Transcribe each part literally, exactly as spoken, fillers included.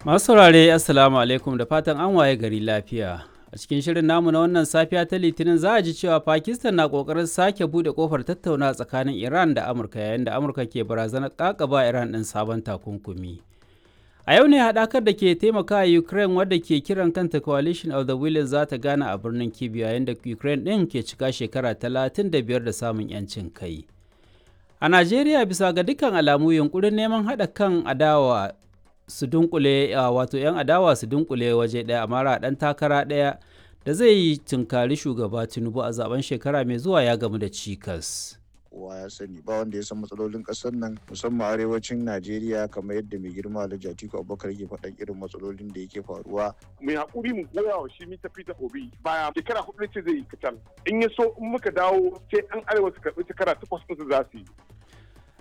Masu saurare, Assalamu alaikum, da fatan an waye gari lafiya. A cikin shirin namu na wannan safiya ta Litinin za a ji cewa Pakistan na kokarin sake bude kofar tattauna tsakanin Iran da Amurka yayin da Amurka ke barazanar kakaba Iran ɗin sabon takunkumi. A yau ne haɗakar da ke taimaka a Ukraine wadda ke kiran kanta Coalition of the Willing za ta gana a birnin Kyiv yayin da Ukraine ɗin ke cika shekara talatin da biyar da samun 'yancin kai. A Najeriya, bisa ga dukkan alamu, yunkurin neman haɗa kan adawa su dunkule, wato 'yan adawa su dunkule waje ɗaya a mara ɗan takara ɗaya da zai yi tunkari shugaba Tinubu a zaben shekara mai zuwa ya gamu da cikas. Kowa ya sani ba wanda ya san matsalolin kasar nan, musamman arewacin Najeriya, kamar yadda mai girma Alhaji Atiku Abubakar yake faɗan irin matsalolin da yake faruwa. Mai hakuri mu goya wa shi mita Peter Obi baya, shekara hudu ce zai yi kacal. In ya so in muka dawo sai an arewa su karɓi shekara takwas ɗin su za su yi.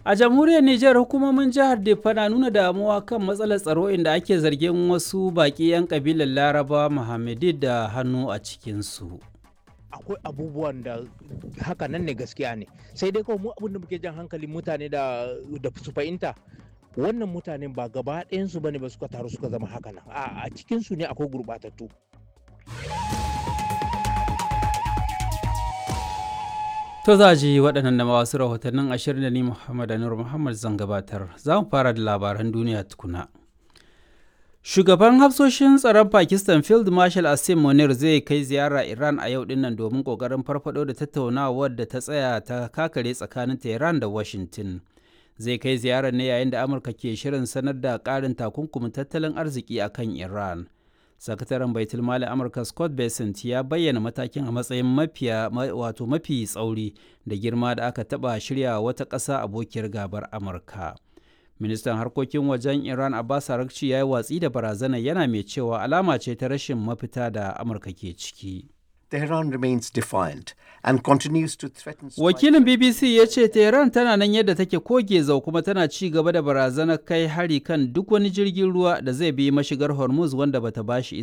A jamhuriyar Nijar, hukumomin jihar Diffa na nuna damuwa kan matsalar tsaro inda ake zargin wasu baƙi 'yan kabilar Laraba Muhammadi da hannu a cikinsu. Akwai abubuwan da haka nan ne, gaskiya ne, sai dai kawai mu abin da muke jan hankalin mutane da da su fahimta, wannan mutanen ba gaba ɗayansu bane ba suka taru suka zama haka nan. A a cikin su ne akwai gurɓatattu. To za ji waɗannan da wasu rahotannin ashirin da ni Muhammad Anur Muhammad zan gabatar. Za mu fara da labaran duniya tukuna. Shugaban hafsoshin tsaron Pakistan Field Marshal Asim Munir zai kai ziyara Iran a yau dinnan domin kokarin farfado da tattaunawar da ta tsaya ta kakare tsakanin Tehran da Washington. Zai kai ziyarar ne yayin da Amurka ke shirin sanar da ƙarin takunkumin tattalin arziki a kan Iran. Sakataren Baitul Mali Amurka Scott Bessent ya bayyana matakin a matsayin mafiya wato mafi tsauri da girma da aka taɓa shirya wata ƙasa abokiyar gabar Amurka. Ministan harkokin wajen Iran Abbas Araghchi ya yi watsi da barazanar, yana mai cewa alama ce ta rashin mafita da Amurka ke ciki. Tehran remains defiant and continues to threaten Wakilin B B C ya ce Tehran tana nan yadda take koge zau kuma tana ci gaba da barazanar kai hari kan duk wani jirgin ruwa da zai bi mashigar Hormuz wanda bata bashi